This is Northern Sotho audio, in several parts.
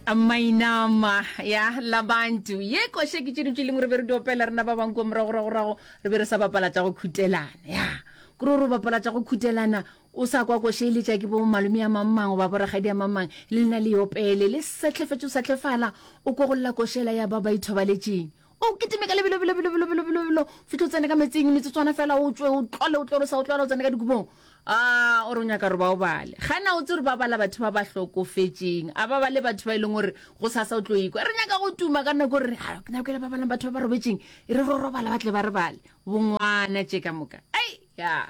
Mainama ya Labantu ye koše ke tše dintši lengwe re be re di opela rena ba bangwe kua moragoragorago re be re sa bapala tša go khutelana ya kore o re o bapala tša go khutelana o sa kwa koše e letša ke bo malome ya mang-mang goba borakgadi ya mang-mang le lena le opele le sehlefetše o sehlefala o kwa go lla košela ya ba ba ithobaletšeng o kitime ka lebelo belo belo belo belo belo belo fitlhe o tsene ka metsing metsotswana fela o tswe o tlole o tlole o sa o tlwala o tsene ka dikobong a o re o nyaka gore ba o bale gana o tse gore ba bala batho ba ba hlokofetšeng a ba bale batho ba e leng gore go sasa o tlo ikwa re nyaka go tuma ka nako gore ke nako ele ba balang batho ba ba robetšeng e re ro robala ba tle ba re bale bongwana tše ka moka ai ya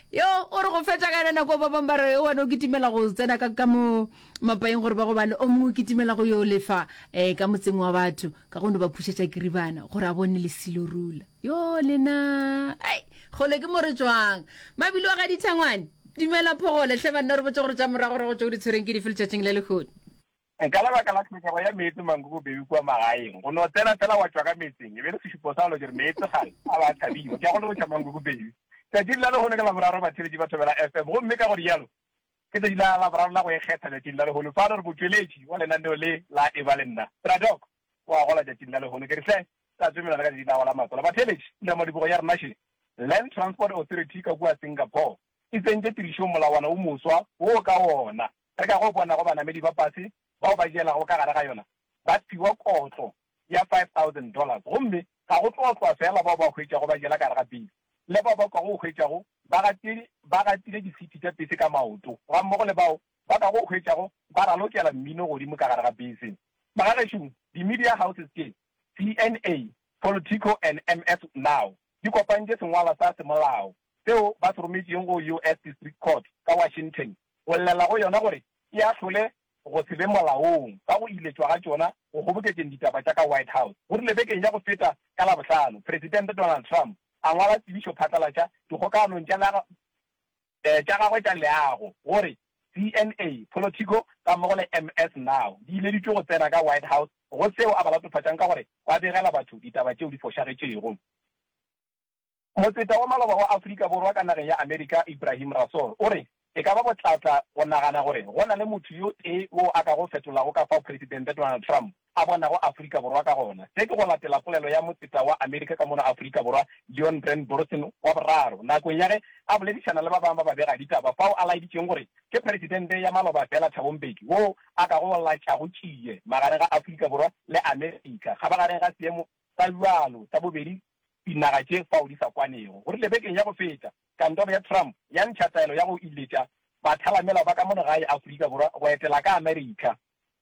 yo o re go fetša ka yona nako ba bangwe ba re wena o kitimela go tsena ka ka mo mapaeng gore ba go bale o mongwe o kitimela go yo lefa um ka motseng wa batho ka go no ba phušetša kiribana gore a bone lesilo rula yo lena ai kgole ke mo re tswang mabilo wa ga dithangwane dumela phogole hle banna re botse gore tša morago rago tšeo di tshwereng ke dife letšatšing la lehono Ka lebaka la tlhokego ya meetse Mankoko Baby kua magaeng, go no tsena fela wa tšwa ka meetseng e be le sešupo sa lo ke re meetse gale a ba a thabiwa. Ke a go leboša Mankoko Baby. Tšatšing la lehono ke Laboraro batheeletši ba Thobela FM gomme ka go rialo ke tšatši la Laboraro la go ikgetha tšatšing la lehono. Fano re motšweletši wa lenaneo le la Eba le Nna. Bra Doc o a gola tšatšing la lehono. Ke re hle tla tsomelana ka tšatši la go la matswalo. Batheeletši, pulamadibogo ya rena še, Land Transport Authority ka kua Singapore e tsentše tirišong molawana wo moswa wo ka wona Re ka go bonago banamedi ba pase bao ba jelago ka gare ga yona ba fiwa kotlo ya $5000 gomme ga go tlo otlwa feela bao ba hwetšwago ba jela ka gare ga pese le bao ba kago hwetšwago ba gatile ba gatile disiti tša pese ka maoto gammogo le bao ba kago hwetšwago ba ralokela mmino godimo ka gare ga pese. Magagešo, di-media houses tše, CNA, Politico and MS Now, di kopantše sengwalwa sa semolao seo ba se rometšeng go US District Court ka Washington go llela go yona gore e ahlole go se be molaong ka go iletšwa ga tšona go kgoboketšeng ditaba tša ka White House. Go rile bekeng ya go feta ka Labohlano, Presidente Donald Trump a ngwala tsebišo phatlalatša dikgokaganong tša tša gagwe tša leago gore CNA, Politico gammogo le MS Now di ileditšwe go tsena ka White House go seo a ba latofatšang ka gore ba begela batho ditaba tšeo di fošagetšego. Motseta wa maloba wa Afrika Borwa ka nageng ya Amerika, Ebrahim Rasool, o re e ka ba botlatla go nagana gore go na le motho yo tee wo a kago fetolago ka fao Presidente Donald Trump a bonago Afrika Borwa ka gona. Se ke go latela polelo ya motseta wa Amerika ka mono Afrika Borwa, Leon Brand Borson wa boraro, nakong ya ge a boledišana le ba bangwe ba babegaditaba fao a laeditšeng gore ke Presidente ya maloba feela Thabo Mbeki wo a kago latšago tšie magareng ga Afrika Borwa le Amerika kgabagareng ga seemo sa bjalo sa bobedi dinaga tše fao di sa kwanego. Go rile bekeng ya go feta, kantoro ya Trump ya ntšha taelo ya go iletša bathalamelao ba ka mono gae Afrika Borwa go etela ka Amerika.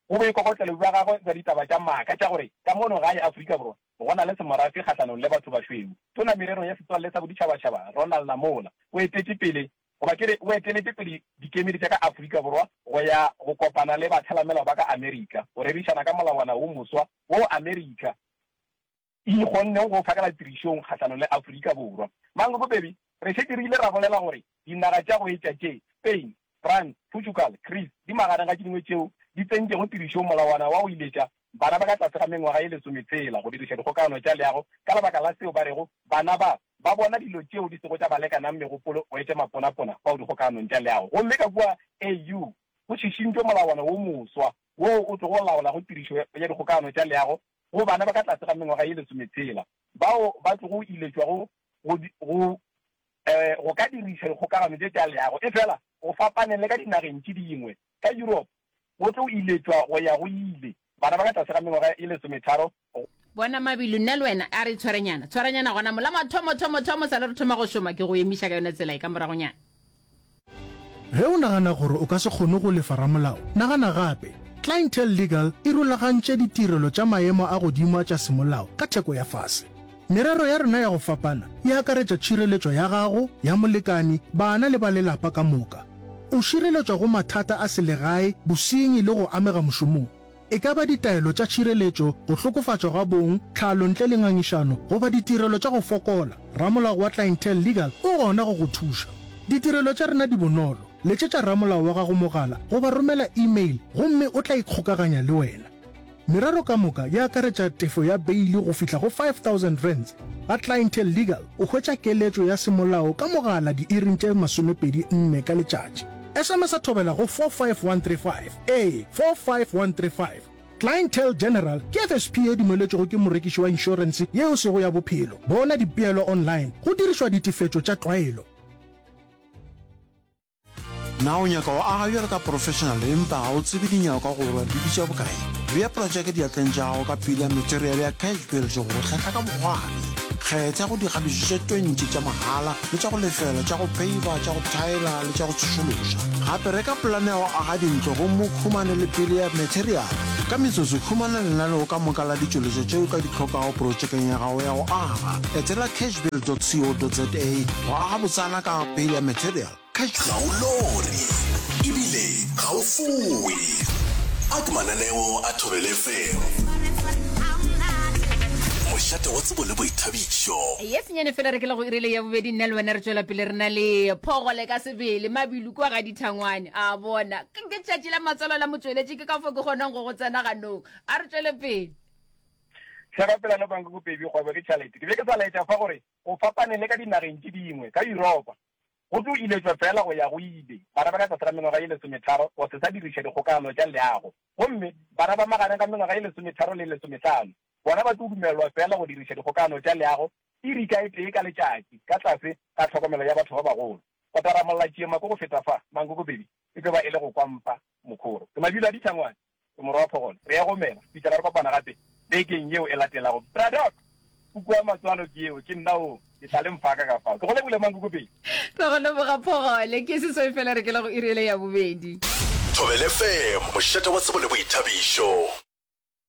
Go boikokotlelo bja gagwe bja ditaba tša maaka tša gore ka mono gae Afrika Borwa go na le semorafe kgahlanong le batho bašweu, Tona Mererong ya Setswalle sa Boditšhabatšhaba Ronald Lamola o etetše pele goba ke re o eteletše pele dikemedi tša ka Afrika Borwa go ya go kopana le bathalamelao ba ka Amerika go rerišana ka molawana wo moswa wo Amerika e kgonneng go phakela tirišong kgahlanong le Afrika Borwa. Mankoko Baby, re šetše re ile ra bolela gore dinaga tša go etša tše, Spain, France, Portugal, Greece, di magareng ga tše dingwe tšeo di tsentšego tirišong molawana wa go iletša bana ba ka tlase ga mengwaga ye lesometshela go diriša dikgokagano tša leago ka lebaka la seo ba rego bana ba ba bona dilo tšeo di sego tša ba lekanang megopolo go etša maponapona fao dikgokaganong tša leago. Gomme ka kua AU go šišintšwe molawana wo moswa woo o tlogo laolago tirišo ya dikgokagano tša leago go bana ba ka tlase ga mengwaga ye lesometshela bao ba tlogo iletšwago go, go, go ka diriša dikgokagano tše tša leago. Efela go fapaneng le ka dinageng tše dingwe, ka Europe go tlo iletšwa go ya go ile bana ba ka tlase ga mengwaga ye lesometharo go. Bona Mabilu, nna le wena a re tshwarenyana, tshwaranyana gona mo. La mathomo, thomo, thomo sa le re thoma go šoma, ke go emiša ka yona tsela e ka moragonyana. Ge o nagana gore o ka se kgone go lefa ramolao, nagana gape. Clientele Legal e rulagantše ditirelo tša maemo a godimo tša semolao ka theko ya fase. Merero ya rena ya go fapana e akaretša tšhireletšo ya gago, ya molekani, bana le ba lelapa ka moka. O šireletšwa go mathata a selegae, bosenyi le go amega mošomong. E ka ba ditaelo tša tšhireletšo, go hlokofatšwa ga bong, tlhalo ntle le ngangišano, goba ditirelo tša go fokola, ramolao wa Clientele Legal o gona go go thuša. Ditirelo tša rena di bonolo, letšetša ramolao wa gago mogala goba romela e-mail gomme o tla ikgokaganya le wena. Merero ka moka e akaretša tefo ya beili go fihla go R5000. Ga Clientele Legal o hwetša keletšo ya semolao ka mogala diiring tše 24 ka letšatši. SMS-a Thobela go 45135. Ee, 45135. Clientele General ke FSP ye dumeletšwego ke morekiši wa inšorense ye e sego ya bophelo. Bona dipeelo online go dirišwa ditefetšo tša tlwaelo. Na o nyaka go aga bjalo ka professional empa ga o tsebe dinyakwa gore di bitša bokae? Bea projeke diatleng tša gago ka pila material ya Cash Build go go hlahla ka bokgwari. Kgetha go dikgabišo tše 20 tša mahala le tša go lefela, tša go peiva, tša go thaela le tša go tsošološa. Gape reka polane ya go aga dintlo gomme o humane le pele ya material. Ka metsotso, humana lenaneo ka moka la ditšweletšwa tše o ka di hlokago projekeng ya gago ya go aga. Etela cashbuild.co.za go aga botsana ka pele ya material. Ga o lore ebile ga o fowe. A ke mananeo a Thobela FM, mošate wa tsebo le boithabišo. Ye senyane fela re ke le go irile ya bobedi nna le wena re tšwela pele re na le phogole ka sebele mabilu kwa ga dithangwane a bona ke tšatši la matswalo la motšweletši ke ka fo ke kgonang go go tsena ganong a re tšwele pele. Hlaka pela no banka ko pebi kgwebo ke tšhalete. Ke be ke sa laetša fa gore go fapane le ka dinageng tše dingwe ka Yuropa Go tlo iletšwa feela go ya go ile bana ba ka tlase ga mengwaga ye lesometharo go se sa diriša dikgokagano tša leago, gomme bana ba magareng ga mengwaga ye lesometharo le lesomehlano bona ba tlo dumelelwa feela go diriša dikgokagano tša leago iri ka e tee ka letšatši ka tlase ga tlhokomelo ya batho ba bagolo. Go taramolla tšiemako go feta fa, Mankoko Baby, e tlo ba e le go kwampa mokhoro. Ke mabilo a dithangwane. Ke morwa wa Phogolo. Re ya gomela. Fihlela re kopana gape bekeng yeo e latelago. Bra Doc! Puku ya matswalo ke yeo. Ke nna o. Ke tla le mfaka ka fao. Ke go lebogile Mankoko Pedi. Re go leboga Phogole. Ke seswai fela re kela go iri ele ya bobedi. Thobela FM, mošate wa tsebo le boithabišo.